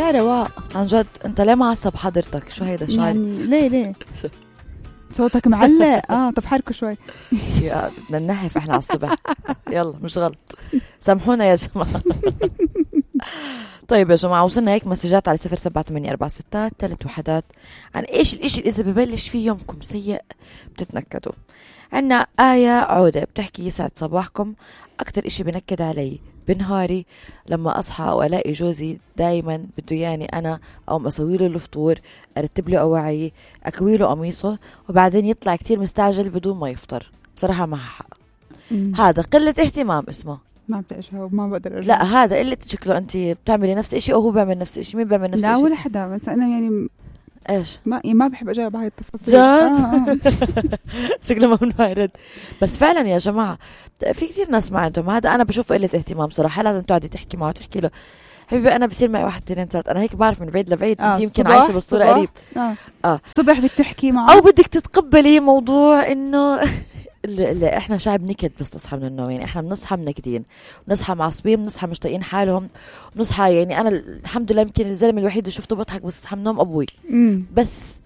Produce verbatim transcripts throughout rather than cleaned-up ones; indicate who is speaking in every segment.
Speaker 1: يا رواق
Speaker 2: عن جد انت ليه معصب حضرتك؟ شو هيدا شو
Speaker 1: يعني ليه ليه صوتك معلق؟ اه طب حركوا شوي.
Speaker 2: يا بدنا ننحف احنا على الصبح. يلا مش غلط، سامحونا يا جماعة. طيب يا جماعة وصلنا هيك مسجات على صفر سبعة ثمانية أربعة ستة ثلاث وحدات عن ايش الاشي اللي اذا ببلش فيه يومكم سيء بتتنكدوا. عنا آية عودة بتحكي يسعد صباحكم، اكتر اشي بنكد علي بنهاري لما اصحى والاقي جوزي دايما بده ياني انا او اسوي له الفطور، ارتب له اواعيه، اكوي له قميصه، وبعدين يطلع كتير مستعجل بدون ما يفطر. بصراحة ما حق، هذا قلة اهتمام اسمه.
Speaker 1: ما بتقشها وما بقدر أرجع.
Speaker 2: لا هذا اللي شكله انت بتعملي نفس الشيء او هو بيعمل نفس الشيء. مين بيعمل نفس
Speaker 1: الشيء؟
Speaker 2: الشيء؟
Speaker 1: لا ولا حدا، بس انا يعني
Speaker 2: ايش
Speaker 1: ما يعني ما بحب اجاوب هاي التفاصيل.
Speaker 2: جد
Speaker 1: آه.
Speaker 2: شكله ممنوع يرد. بس فعلا يا جماعه في كثير ناس ما عندهم هذا. انا بشوف قله اهتمام صراحه. لازم تقعدي تحكي معه تحكي له حبيبي انا بصير معي واحد اثنين ثلاث. انا هيك بعرف من بعيد لبعيد
Speaker 1: آه
Speaker 2: يمكن عايشه بالصوره قريب.
Speaker 1: اه
Speaker 2: اه
Speaker 1: الصبح بدك تحكي معه
Speaker 2: او بدك تتقبلي موضوع انه اللي, اللي احنا شعب نكد بس نصحى من النوم. يعني احنا بنصحى منكدين، بنصحى معصبين، بنصحى مش طايقين حالهم، بنصحى يعني انا الحمد لله يمكن الزلمه الوحيد اللي شفته بضحك بس صحى من النوم ابوي.
Speaker 1: مم.
Speaker 2: بس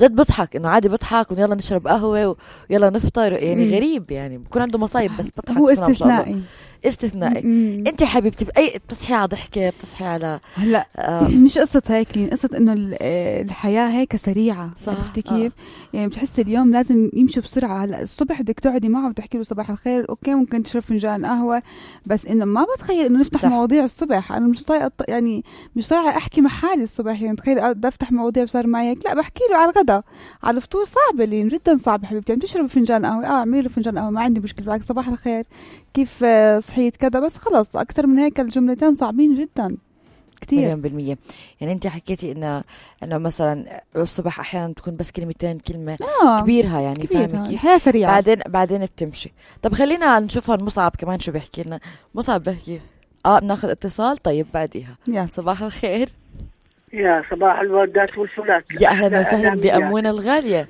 Speaker 2: جد بضحك انه عادي بضحك ويلا نشرب قهوه ويلا نفطر. يعني
Speaker 1: مم.
Speaker 2: غريب يعني بكون عنده مصايب بس بضحك.
Speaker 1: هو استثنائي
Speaker 2: استثنائي. انت حبيبتي باي بتصحي على ضحكه بتصحي على
Speaker 1: هلا
Speaker 2: آه
Speaker 1: مش قصه هيك، قصه انه الحياه هيك سريعه. عرفتي كيف؟ آه. يعني بتحسي اليوم لازم يمشي بسرعه. هلا الصبح بدك تقعدي معه وتحكي له صباح الخير، اوكي ممكن تشرب فنجان قهوه، بس انه ما بتخيل انه نفتح صح. مواضيع الصبح. انا مش طايقه يعني مش طايقه احكي مع حالي الصبح. يعني تخيل بدي افتح مواضيع صار معي هيك. لا بحكي له على الغداء على الفطور. صعب اللي جدا صعب حبيبتي. يعني تشرب فنجان قهوه، اه اعملي له فنجان قهوه ما عندي مشكله. بالعكس صباح الخير كيف صحيت كذا. بس خلص أكثر من هيك الجملتين صعبين جدا كتير.
Speaker 2: مليون بالمية. يعني أنت حكيتي إنه إنه مثلا الصبح أحيانا تكون بس كلمتين كلمة
Speaker 1: آه
Speaker 2: كبيرها يعني فاهمة كيف؟
Speaker 1: هي سريعة.
Speaker 2: بعدين بعدين بتمشي. طب خلينا نشوفها مصعب كمان شو بيحكي لنا. مصعب بحكي آه بناخذ اتصال. طيب بعديها
Speaker 1: يا
Speaker 2: صباح الخير.
Speaker 3: يا صباح الوردات والفلات.
Speaker 2: يا أهلا وسهلا بأمونة الغالية.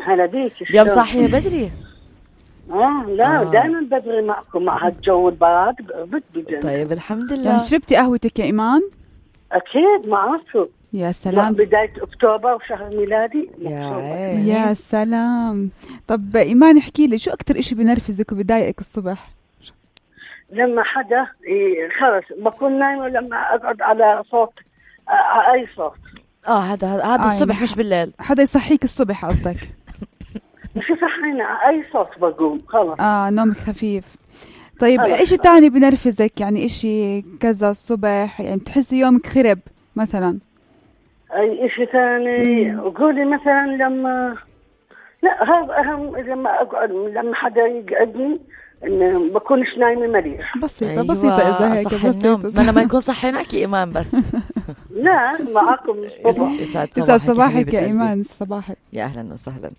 Speaker 3: هلا بيك.
Speaker 2: يوم صاحية بدري.
Speaker 3: اه لا
Speaker 2: آه.
Speaker 3: دائما بدري معكم مع هالجو البارد بد.
Speaker 2: طيب الحمد لله.
Speaker 1: يعني شربتي قهوتك يا إيمان؟
Speaker 3: أكيد ما عرفتوا.
Speaker 1: يا سلام.
Speaker 3: بداية أكتوبر وشهر ميلادي.
Speaker 2: يا,
Speaker 1: يا سلام. طب إيمان احكي لي شو أكتر إشي بنرفزك وبضايقك الصبح؟
Speaker 3: لما حدا خلص بكون نايمة لما أقعد على صوت آه أي صوت.
Speaker 2: اه هذا هذا
Speaker 1: آه
Speaker 2: الصبح
Speaker 1: يعني
Speaker 2: مش بالليل.
Speaker 1: حدا يصحيك الصبح قصدك؟
Speaker 3: مش صحينا أي صوت بقوم خلص.
Speaker 1: آه نومك خفيف. طيب إيش تاني بنرفزك؟ يعني إشي كذا الصبح يعني بتحسي يومك خرب مثلا؟
Speaker 3: أي إشي ثاني قولي مثلا لما لا هذا أهم. لما أقعد لما حدا يقعدني إن بكونش نايمة مريح.
Speaker 1: بسيطة
Speaker 2: أيوة
Speaker 1: بسيطة إذا هيك
Speaker 2: صح النوم. ما أنا ما يكون صحيناك يا إيمان بس.
Speaker 3: لا معكم صباح.
Speaker 2: يسعد
Speaker 1: صباحك, صباحك يا إيمان. صباحك
Speaker 2: يا أهلا وسهلا.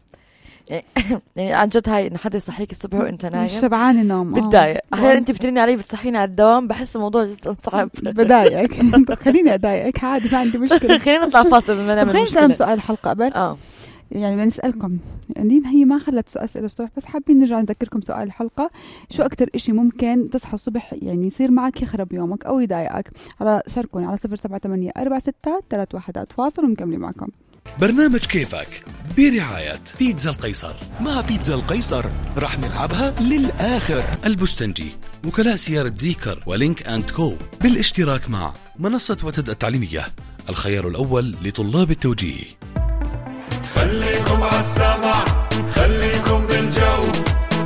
Speaker 2: يعني عن جد هاي إن حدا يصحيك الصبح وأنت نايم
Speaker 1: مش شبعان النوم
Speaker 2: بتضايق. أحيانا أنت بترني علي بتصحيني على الدوام بحس الموضوع جدا صعب.
Speaker 1: بدايقك. خليني أضايقك عادي ما عندي مشكلة.
Speaker 2: خلينا نطلع فاصل بما نعمل
Speaker 1: خلينا
Speaker 2: مشكلة.
Speaker 1: نسأل سؤال الحلقة قبل.
Speaker 2: آه
Speaker 1: يعني بنسألكم يعني هي ما خلت سؤال أسئلة الصبح بس حابين نرجع نذكركم سؤال الحلقة. شو أكتر إشي ممكن تصحى الصبح يعني يصير معك يخرب يومك أو يضايقك؟ على شاركوني على صفر سبعة ثمانية أربعة ستة ثلاث وحدات. فاصل ومكملين معكم.
Speaker 4: برنامج كيفك برعاية بيتزا القيصر. مع بيتزا القيصر رح نلعبها للآخر. البستنجي، وكلاء سيارة زيكر ولينك أند كو بالاشتراك مع منصة وتد التعليمية، الخيار الأول لطلاب التوجيه.
Speaker 5: خليكم عالسمع خليكم بالجو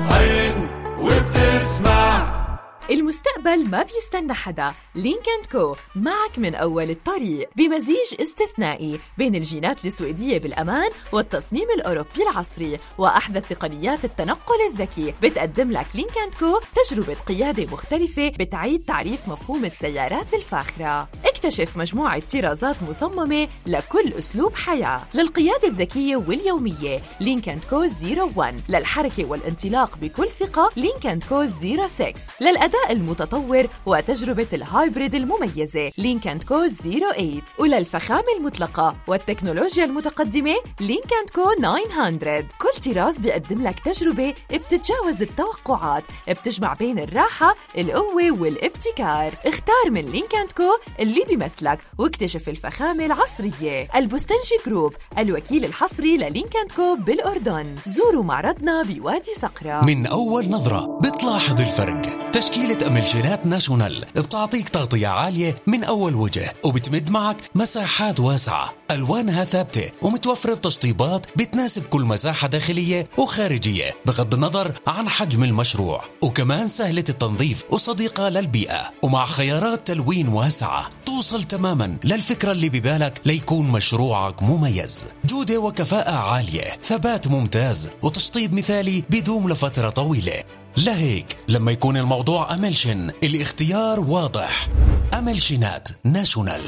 Speaker 5: عين وبتسمع.
Speaker 6: المستقبل ما بيستنى حدا. لينك أند كو معك من أول الطريق بمزيج استثنائي بين الجينات السويدية بالأمان والتصميم الأوروبي العصري وأحدث تقنيات التنقل الذكي. بتقدم لك لينك أند كو تجربة قيادة مختلفة بتعيد تعريف مفهوم السيارات الفاخرة. اكتشف مجموعة طرازات مصممة لكل أسلوب حياة. للقيادة الذكية واليومية لينك أند كو صفر واحد. للحركة والانطلاق بكل ثقة لينك أند كو صفر ستة. للأداء المتطور وتجربة الهايبريد المميزة لينك أند كو صفر ثمانية. وللفخامة المطلقة والتكنولوجيا المتقدمة لينك أند كو تسعمية. كل طراز بيقدم لك تجربة بتتجاوز التوقعات، بتجمع بين الراحة القوة والابتكار. اختار من لينك أند كو اللي بيمثلك واكتشف الفخامة العصرية. البستنجي جروب، الوكيل الحصري للينك أند كو بالأردن. زوروا معرضنا بوادي صقرة.
Speaker 4: من أول نظرة بتلاحظ الفرق. تشكيلة أملشينات ناشونال بتعطيك تغطية عالية من أول وجه، وبتمد معك مساحات واسعة، ألوانها ثابتة ومتوفرة بتشطيبات بتناسب كل مساحة داخلية وخارجية بغض النظر عن حجم المشروع، وكمان سهلة التنظيف وصديقة للبيئة، ومع خيارات تلوين واسعة توصل تماما للفكرة اللي ببالك ليكون مشروعك مميز. جودة وكفاءة عالية، ثبات ممتاز، وتشطيب مثالي بيدوم لفترة طويلة. لهيك لما يكون الموضوع أملشن الاختيار واضح. أملشنات ناشونال.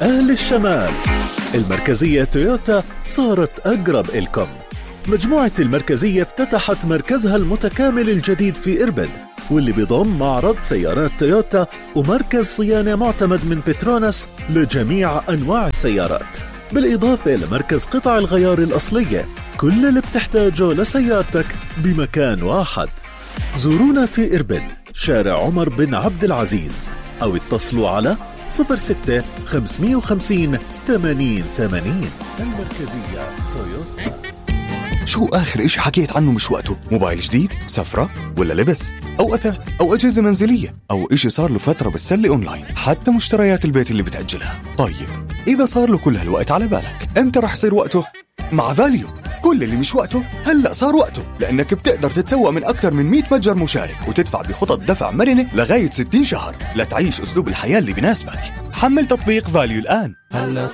Speaker 7: أهل الشمال، المركزية تويوتا صارت أقرب إلكم. مجموعة المركزية افتتحت مركزها المتكامل الجديد في إربد، واللي بيضم معرض سيارات تويوتا ومركز صيانة معتمد من بتروناس لجميع أنواع السيارات، بالإضافة لمركز قطع الغيار الأصلية. كل اللي بتحتاجه لسيارتك بمكان واحد. زورونا في إربد، شارع عمر بن عبد العزيز، أو اتصلوا على صفر ستة خمسمية وخمسين ثمانين ثمانين. المركزية تويوتا.
Speaker 8: شو آخر إشي حكيت عنه مش وقته؟ موبايل جديد؟ سفرة؟ ولا لبس؟ أو أثاث؟ أو أجهزة منزلية؟ أو إشي صار له فترة بالسلة أونلاين؟ حتى مشتريات البيت اللي بتأجلها. طيب إذا صار له كل هالوقت على بالك، إمتى رح يصير وقته؟ مع فاليو. كل اللي مش وقته هلأ صار وقته، لأنك بتقدر تتسوق من أكثر من مية متجر مشارك وتدفع بخطط دفع مرنة لغاية ستين شهر لتعيش أسلوب الحياة اللي بيناسبك. حمل تطبيق فاليو الآن.